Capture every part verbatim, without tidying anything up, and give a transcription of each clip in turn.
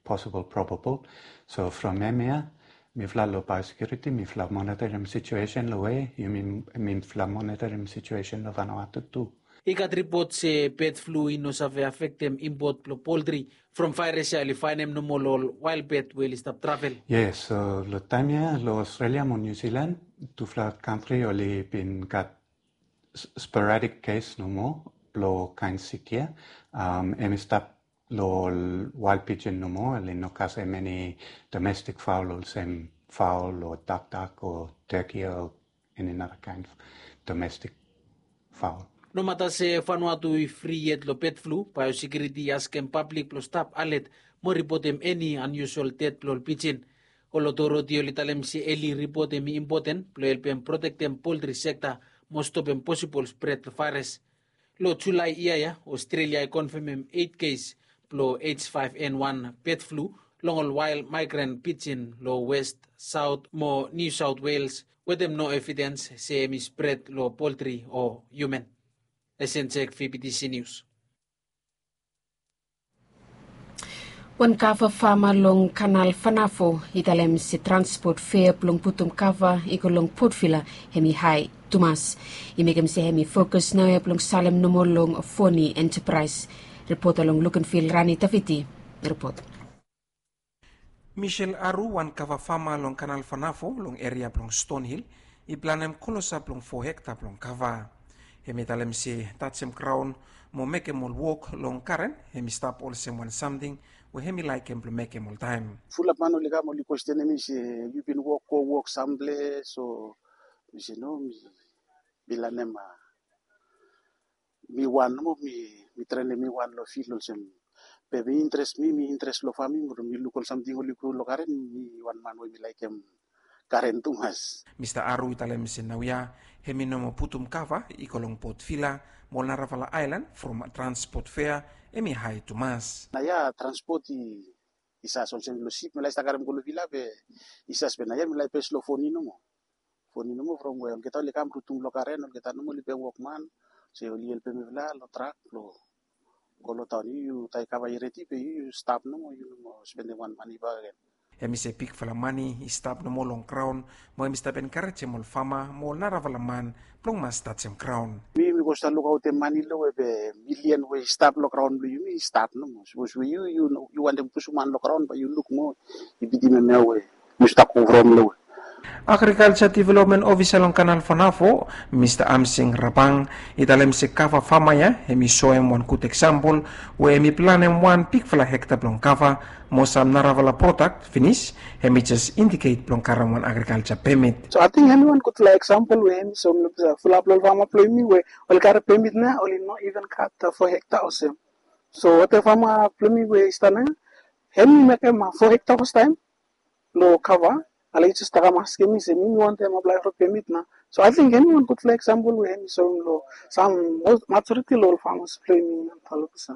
possible probable. So from hemia mifala long biosecurity mifala monitorim situation long we yumi mifala monitorim situation long Vanuatu tu. I gat ripot se bird flu i no save afektem impot blong poltri from vaeras ya oli faenem nomo long ol wael bird we oli stap travel. Yes, so long taem ya long Australia mo New Zealand tufala kantri oli bin gat sporadic case nomo blong kaen sik ya. Em i stap long ol wael pijin nomo, oli no kasem eni domestic fowl olsem fowl o dakdak o turkey o eni nara kaen domestic fowl. Nomata se Vanuatu i fri yet long bird flu, biosecurity i askem pablik blong stap alet mo ripotem eni unusual ded blong ol pijin. Ol otoriti oli talem se eli ripot hem i impoten blong helpem protektem poltri sekta mo stopem posibol spred blong vaeras. Long Julae yia ya Australia i konfemem eit kes blong H five N one bird flu long ol wael migrant pijin long West, Saot mo New South Wales wetem no evidens se hem i spred long poltri o hiuman. Esenjek, V B T C News. Wan kava fama long Kanal Vanavo i talem se transpot fea blong putum kava i go long Port Vila hem i hae tumas. I mekem se hem i fokus naoia blong salem nomo long Foni Enterprise. Ripota long Lukenville, Rani Taviti ripot. Michel Aru, wan kava fama long Kanal Vanavo long eria blong Stonehill, i planem klosap blong fo hekta blong kava. Hem i talem se tajem graon mo mekem ol wok long garen hem i stap olsem wan samting we hem i laekem blong mekem oltaem. Fulap man oli kam oli kwestenem mi se yu bin wok go wok samples o mi se no, mi lanem mi wan nomo, mi trenem mi wan long fil olsem. Be mi interes mi mi interes long faming, mi luk ol samting oli gro long garen, mi wan man we mi laekem garen tumas. Mista Aru i talem se naoia hem i no moa putum kava i go long Port Vila mo ol narafala aelan from transpot fea hem i hae tumas. Naoia transpot i sas olsem long sip mi lae stap karem go long Vila be i sas be naoia mi lae pes long Foni nomo. Foni nomo from we olgeta oli kam rutum long garen, olgeta nomo oli pem wokman se oli helpem mifala long trak blong go long taon. Yu yu taem kava i redi be yu yu stap nomo, yu no moa spendem wan mane bakegen. Hem i se bigfala mane i stap nomo long graon mo hem i stap enkarejem ol fama mo ol narafala man blong mas tajem graon. Mi mi go stap lukaotem mane long we be milian we i stap long graon blong yumi i stap nomo. Sapos we yu yu wantem pusum han long graon bae yu luk moa i bitim hemia we yu stap go from long we. Agrikalja Developmen Ofisa long Kanal Vanavo, Mista Amsing Rabang, i talem se kava fama ya hem i soem wan gud eksampol we hem i planem wan bigfala hekta blong kava mo sam narafala prodak finis, hem i jes indiket blong karem wan agrikalja pemit. So ating hem i wan gudfala eksampol we hem i soem long fulap long ol fama blong yumi we oli karem pemit nao oli no iven gat fo hekta olsem. So watem fama blong yumi we i stap nao hem i mekem fo hekta fastaem long kava. Ale i jes kam askem mi se mi mi wantem aplae long pemit nao. So ating hem i wan gudfala eksampol we hem i soem long sam majoriti long ol famas blong yumi antalo pisa.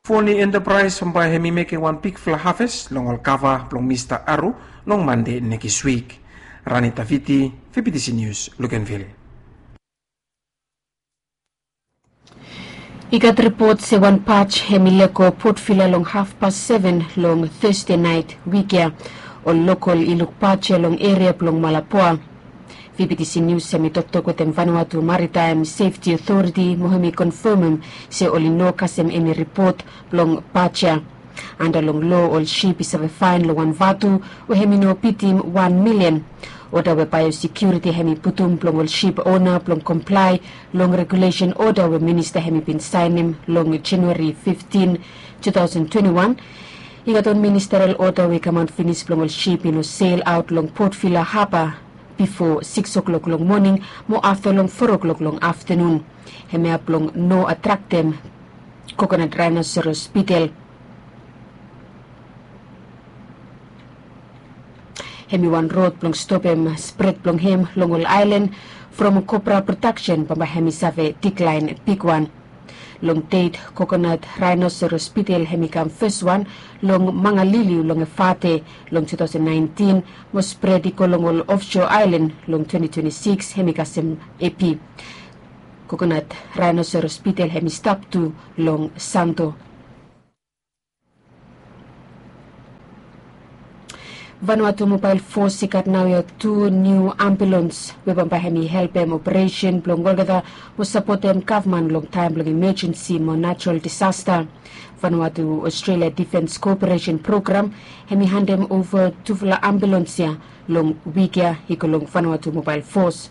Foni Enterprise bambae hem i mekem wan bigfala haves long ol kava blong Mista Aru long Mande nekis wik. Rani Taviti, V B T C News, Luganville. I gat ripot se wan baj hem i lego Port Vila long hafpas seven long Thursday naet wik ya. Ol lokol i luk baj ya long eria blong Malapua. V B T C News hem i toktok wetem Vanuatu Maritime Safety Authority mo hem i konfemem se oli no kasem eni ripot blong baj ya. Anda long loa ol sip i save faen long wan vatu we hem i no bitim wan milian. Oda we baeosekiuriti hem i putum blong ol sip ona blong komplae long regulesen oda we minista hem i bin saenem long Januari fiftin, two thousand twenty-one. I gat wan ministerial oda we i kamaot finis blong ol sip i no sel aot long Port Vila haba bifo sikis oklok long moning mo afta long foa oklok long aftanun. Hemia blong no atraktem kokonat raenoseros bitel. Hem i wan rod blong stopem spred blong hem long ol aelan from kopra prodaksen bambae hem i save diklaen bigwan. Long det kokonat raenoseros bitel hem i kam feswan long mangaliliu long Efate long two thousand nineteen mo spred i go long ol ofso aelan long twenty twenty-six hem i kasem epi. Kokonat raenoseros bitel hem i stap tu long Santo. Vanuatu Mobael Fos i gat naoia tu niu ambulans we bambae hemi helpem operesen blong olgeta mo sapotem gavman long taem blong imejensi mo najral disasta. Vanuatu Australia Difens Koperesen Program hemi handem ova tufala ambulans ya long wik ya i go long Vanuatu Mobael Fos.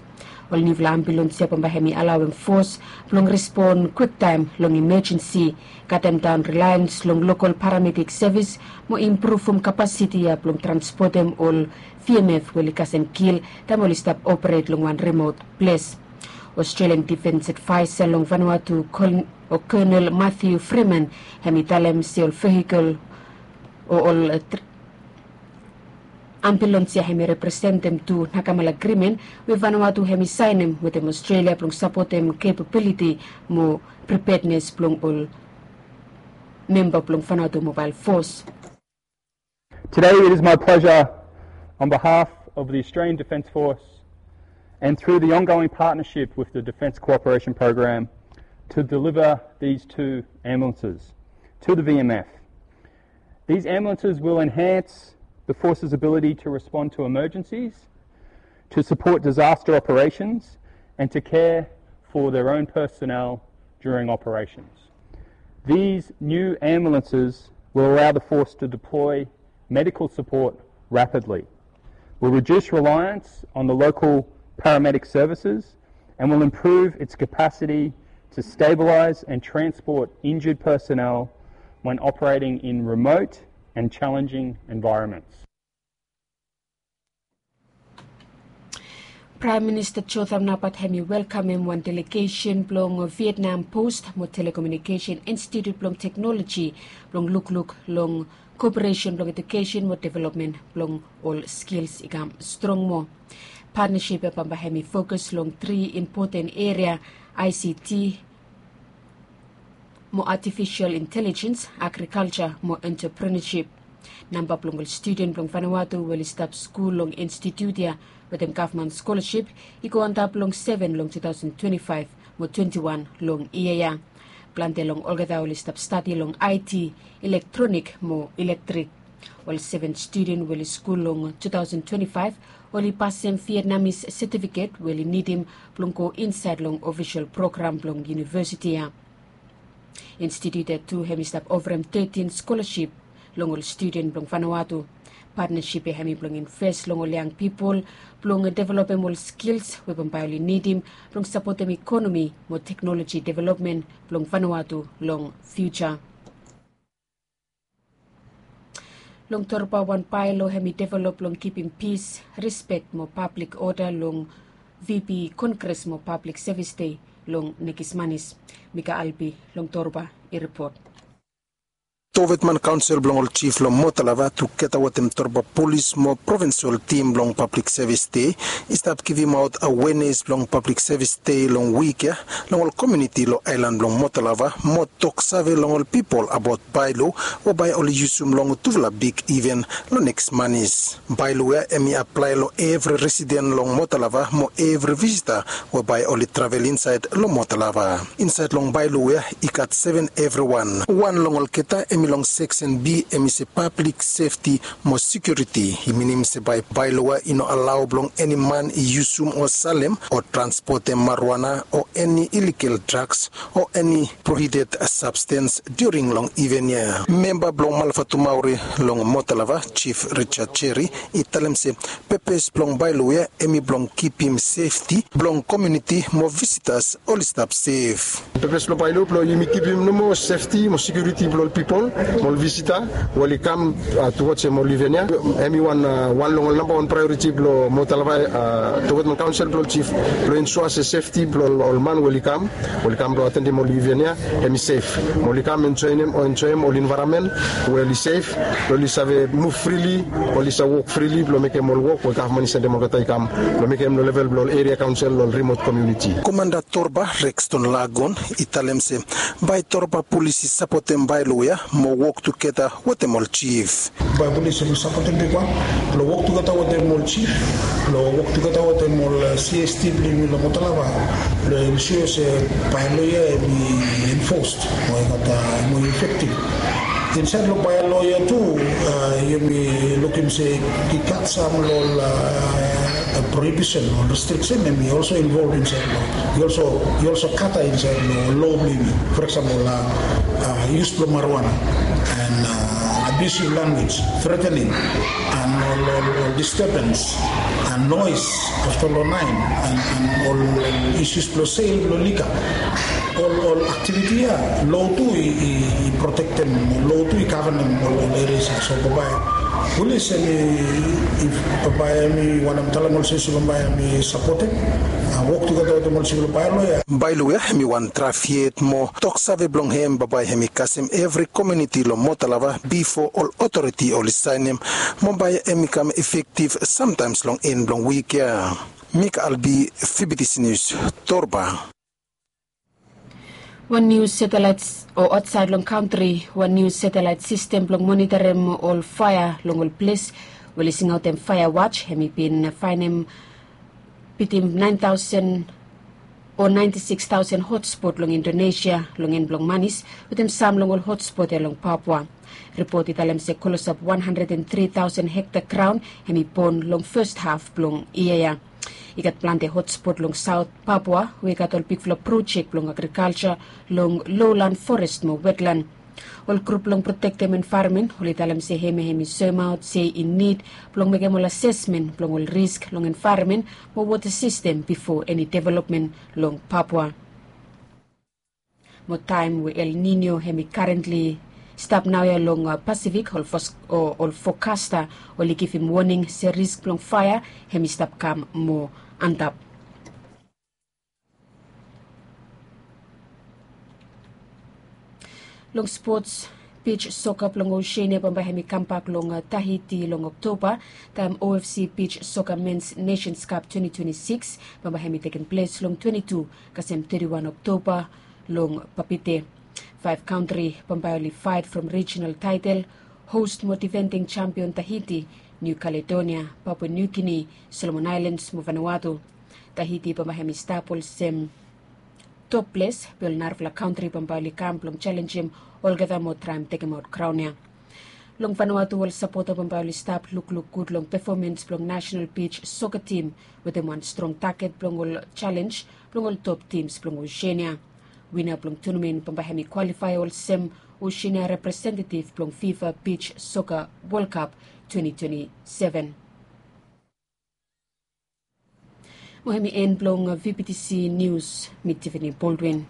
Ol niufala ambulans ya bambae hemi alaoem fos blong respon kwiktaem long imejensi, katem daon relians long lokol paramedik sevis mo impruvum kapasiti ya blong transpotem ol V M F we oli kasem kil taem oli stap operet long wan rimot ples. Australian Defence Advisor long Vanuatu, Colonel Matthew Freeman, hemi talem se ol vehikel o ol ambulans ya hemi representem tu Nakamal Agreement we Vanuatu hemi saenem wetem Australia blong sapotem kepabiliti mo pripednes blong ol memba blong Vanuatu Mobael Fos. Today it is my pleasure, on behalf of the Australian Defence Force and through the ongoing partnership with the Defence Cooperation Program, to deliver these two ambulances to the V M F. These ambulances will enhance the force's ability to respond to emergencies, to support disaster operations, and to care for their own personnel during operations. These new ambulances will allow the force to deploy medical support rapidly, will reduce reliance on the local paramedic services, and will improve its capacity to stabilise and transport injured personnel when operating in remote and challenging environments. Praem Minista Jotham Napat hemi welkamem wan delegesen blong Vietnam Post mo Telekomunikesen Institut blong Teknoloji blong lukluk long koperesen blong edukesen mo developmen blong ol skils i kam strong moa. Patnasip ya bambae hemi fokus long tri impoten eria, I C T, mo artifisel intelijens, agrikalja mo entreprenesip. Namba blong ol studen blong Vanuatu we oli stap skul long institut ya wetem gavman skolasip i go antap long seven long tu taosen twenti faef mo twenti wan long yia ya. Plante long olgeta oli stap stadi long I T, ilektronik mo ilektrek. Ol seven studen we oli skul long tu taosen twenti faef oli pasem Vietnamis setifiket we oli nidim blong go insaed long ofisol program blong univesiti ya. Institut ya tu hemi stap ofarem tetin skolasip long ol studen blong Vanuatu. Patnasip ya hemi blong inves long ol yang pipol blong developem ol skils we bambae oli nidim blong sapotem ikonomi mo teknoloji developmen blong Vanuatu long fiuja. Long Torba, wan baelo hemi develop blong kipim pis, rispek mo pablik oda long V P Kongres mo Pablik Sevis Dei long nekis manis. Mika Albi long Torba i ripot. Tovetman Kaonsel blong ol Jif long Motalava tugeta wetem Torba Polis mo Provinsol Tim blong Pablik Sevis Dei i stap givimaot awenes blong Pablik Sevis Dei long wik ya long ol komuniti long aelan blong Motalava mo toksave long ol pipol abaot baelo we bae oli yusum long tufala big iven long nekis manis. Baelo ya hemi aplae long evri residen long Motalava mo evri visita we bae oli travel insaed long Motalava. Insaed long baelo ya i gat seven evriwan. Wan long olgeta hemi long seksen B, hemi se pablik sefti mo sekiuriti. I minim se bae baelo ya i no alao blong eni man i yusum o salem o transpotem marijuana o eni iligal draks o eni prohibited sabstens during long iven ya. Memba blong Malafatu Maori long Motalava, Jif Richard Jerry, i talem se pepes blong baelo ya hemi blong kipim sefti blong komuniti mo visitas oli stap sef. Pepes blong baelo blong yumi kipim nomo sefti mo sekiuriti blong ol pipol mo ol visita we oli kam tuwaj hem ol iven ya. Hemi wan long ol nambawan praeoriti blong Motalava Tovetman Kaonsel blong ol Jif blong ensua se sefti blong ol man we oli kam, oli kam blong atendim ol iven ya hemi sef, mo oli kam enjoem o enjoem ol envaeronmen we oli sef, blong oli save muv frili, oli save wok frili blong mekem ol wok we gavman i sendem olgeta i kam blong mekem long level blong ol eria kaonsel long ol rimot komuniti. Komanda Torba, Rexton Lagon, i talem se bae Torba Polis i sapotem baelo ya mo wok tugeta wetem ol jif. Bae Polis hemi sapotem bigwan blong wok tugeta wetem ol jif, blong wok tugeta wetem ol C S T blong yumi long Motalava, blong ensua se baelo ya hemi enfosed mo i gat moa efektiv. Insaed long baelo Ia tu, yumi lukim se i gat sam long ol prohibition o restriction, em i also involve insait long, i also i also kata insait long lo blong yumi. For example, use blong marijuana and abusive language, threatening and ol disturbance and noise after long nain and ol issues blong sel blong liquor. Ol ol activity ya lo tu i protektem, lo tu i govenem ol ol eria ya. So bambae pulis em i, bambae em i wantem talem olsem se bambae em i sapotem wok tugeta wetem ol sivil baelo ya. Baelo ya em i wan draf yet mo toksave blong hem bambae em i kasem evri komiuniti long motalava bifo ol otoriti oli saenem. Mo bae em i kam efektiv samtaems long en blong wik ya. Mik albi, fibitisi nius, torba. Wan niu satelaet o aotsaed long kantri, wan niu satelaet sistem blong monitarim ol faea long ol ples we oli singaotem faea waj, hem i bin faenem bitim naen taosen o naenti sikis taosen hotspot long Indonesia long en blong manis, wetem sam long ol hotspot ya long Papua. Ripot i talem se klosap wan handred and tri taosen hekta graon hem i bon long fes haf blong yia ya. I gat plante hotspot long saot Papua we i gat ol bigfala projek blong agrikalja long lowlan, forest mo wetlan. Ol grup blong protektem envaeronmen oli talem se hem ya hem i soemaot se i nid blong mekem ol asesmen blong ol risk long envaeronmen mo wota sistem bifo eni developmen long Papua. Mo taem we El Nino hem i karentli stap naoia long Pasifik, ol fokasta oli givim woning se risk blong faea hem i stap kam moa antap. Long spots, bij soka blong Oseania bambae hem i kambak long Tahiti long Oktoba, taem OFC bij soka mens Nations Cup twenti twenti sikis bambae hem i tekem ples long twenti tu kasem teti wan Oktoba long Papeete. Faef kantri bambae oli faet from rijinal taetel, host mo difending jampion Tahiti, Niu Kaledonia, Papua Niu Gini, Solomon Aelans mo Vanuatu. Tahiti bambae hem i stap olsem top ples, be ol narafala kantri bambae oli kam blong jalenjem olgeta mo traem tekemaot kraon ya. Long Vanuatu ol sapota bambae oli stap lukluk gud long pefomans blong nasenal bij soka tim wetem wan strong taget blong ol jalenj blong ol top tims blong Oseania. Wina blong tunamen bambae hem i kwalifae olsem Oseania representetif blong FIFA bij soka Wol Kap twenti twenti seven. Mo hem i en blong VBTC Nius, mi Tivini Boldwin.